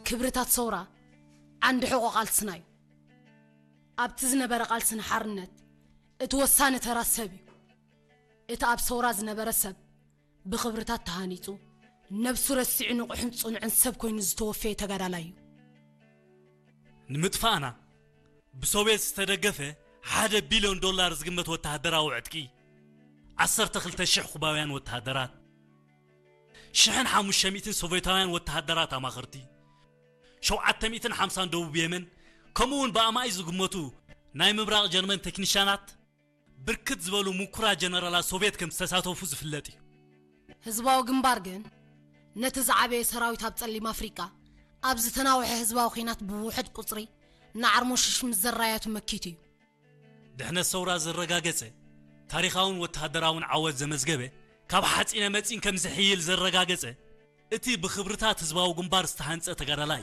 ክብርታት ሰውራ ዓንዲ ሕቖ ቃልስና እዩ። ኣብቲ ዝነበረ ቃልሲ ንሓርነት እቲ ወሳኒ ተራ ሰብ እዩ። እቲ ኣብ ሰውራ ዝነበረ ሰብ ብኽብርታት ተሃኒጹ፣ ነብሱ ረሲዑ ንቑሕን ጽኑዕን ሰብ ኮይኑ ዝተወፈየ ተጋዳላይ እዩ። ንምጥፋእና ብሶቬት ዝተደገፈ ሓደ ቢልዮን ዶላር ዝግመት ወተሃደራዊ ዕጥቂ፣ ዓሰርተ ክልተ ሽሕ ኩባውያን ወተሃደራት፣ ሽሕን ሓሙሽተ ሚእትን ሶቬታውያን ወተሃደራት ኣማኸርቲ፣ ሸውዓተ ሚእትን ሓምሳን ደቡብ የመን፣ ከምኡ እውን ብኣማኢት ዝግመቱ ናይ ምብራቕ ጀርመን ቴክኒሻናት፣ ብርክት ዝበሉ ምኩራት ጀነራላት ሶቬት ከም ዝተሳተፉ ዝፍለጥ እዩ። ህዝባዊ ግንባር ግን ነቲ ዝዓበየ ሰራዊት ኣብ ጸሊም ኣፍሪቃ ኣብ ዝተናውሐ ህዝባዊ ኲናት ብውሑድ ቁጽሪ ንዓርሞሽሽ ምስ ዘራያቱ መኪቱ እዩ። ድሕነት ሰውራ ዘረጋገጸ፣ ታሪኻውን ወተሃደራውን ዓወት ዘመዝገበ፣ ካብ ሓጺነ መጺን ከም ዝሕይል ዘረጋገጸ፣ እቲ ብኽብርታት ህዝባዊ ግንባር ዝተሃንጸ ተጋዳላይ